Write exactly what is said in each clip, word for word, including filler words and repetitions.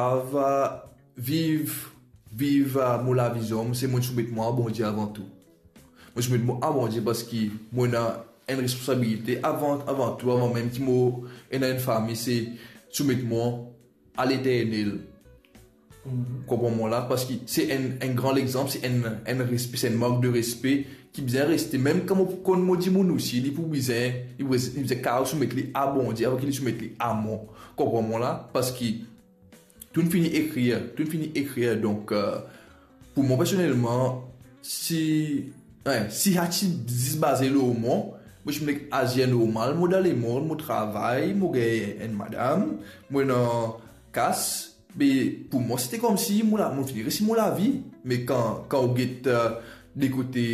Ava viv, viv, ah, mo lavi zom, se mo soumet mwa a Bondie avan tou. Mo soumet mwa a Bondie parski mo ena enn responsabilite avan, avan tou, avan mem ki mo ena enn fami, se soumet mwa a Leternel. Konpran mwa la, parski se enn, enn gran lexanp, se enn, enn respe, se enn mark de respe ki bizin reste. Mem kan mo pou konn mo dimoun osi, li pou bizin, li pou, li bizin kapav soumet li a Bondie avan ki li soumet li a mwa. Konpran mwa la, parski tou fini ekrir, tou fini ekrir. Donk, eh, pou mwa personelman, si, eh, si sa ti zis baze lor mwa, mo ti pou nek azir normal, mo dan lemond, mo travay, mo gagn enn madam, mo ena kas, me pou mwa, sete koumsi mo la, mo fini resi mo lavi. Me kan, kan ou get, eh, de kote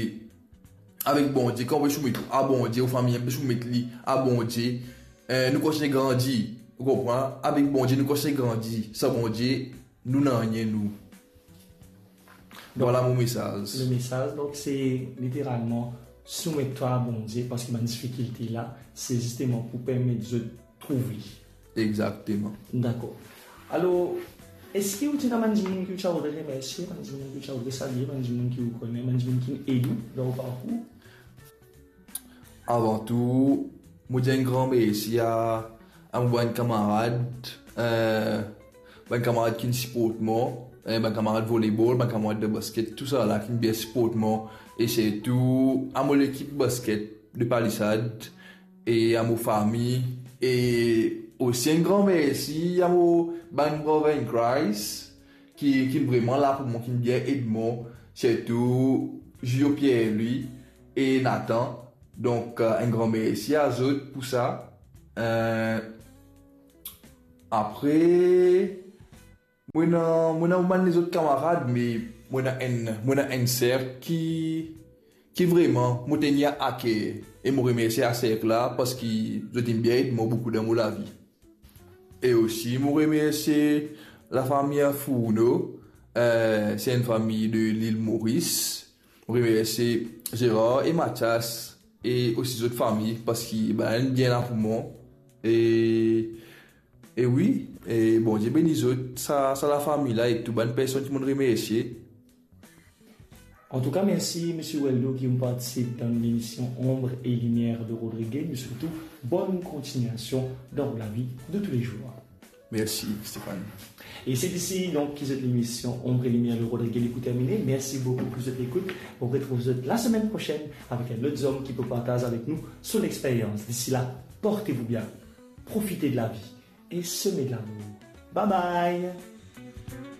avek Bondie, kan ou pe soumet ou a Bondie, ou fami pe soumet li a Bondie, eh, nou kontign grandi, ou konpran? Avek Bondie, nou kontign grandi. San Bondie, nou nanye nou. Donk, vwala mo mesaz. Le message, donc, c'est littéralement soumettre toi à Bondie, parce que dans la difficulté là, c'est justement pour permettre de trouver. Exactement. D'accord. Alors, est-ce que tu as des gens que tu as remercié, des gens que tu as salué, des gens que tu connais, des gens qui aident dans le parcours? Avan tou, mo dir enn gran mersi a, a mo bann kamarad, eh, bann kamarad ki siport mwa, eh, bann kamarad volebol, bann kamarad de basket, tou sa la ki bien siport mwa, e sirtou a mo lekip basket de Palisade e a mo fami, e osi enn gran mersi a mo bann brother in Christ ki, ki vreman la pou mwa, ki bien ed mwa, sirtou Julio Pierre-Louis e Nathan. Donk, eh, enn gran mersi a zot pou sa. Eh, apre, mo ena, mo ena bann lezot kamarad, me mo ena enn, mo ena enn serk ki, ki vreman mo tenir aker. E mo remersie sa serk la, parski zot inn bien ed mwa boukou dan mo lavi. E osi, mo remersie lafami Fourneau, eh, se enn fami de Lil Moris. Mo remersie Gérard e Mathias e osi zot fami, parski bann la bien la pou mwa. E, e wi, e Bondie beni zot, sa, sa lafami la, e tou bann personn ki mo remersie. En tout cas, merci, Monsieur Weldo, qui ont participé dans l'émission Ombre et Lumière de Rodriguez, mais surtout, bonne continuation dans la vie de tous les jours. Merci, Stéphane. Et c'est ici, donc, que cette émission Ombre et Lumière de Rodriguez est terminée. Merci beaucoup pour cette écoute. On retrouve vous la semaine prochaine avec un autre homme qui peut partager avec nous son expérience. D'ici là, portez-vous bien, profitez de la vie et semez de l'amour. Bye bye.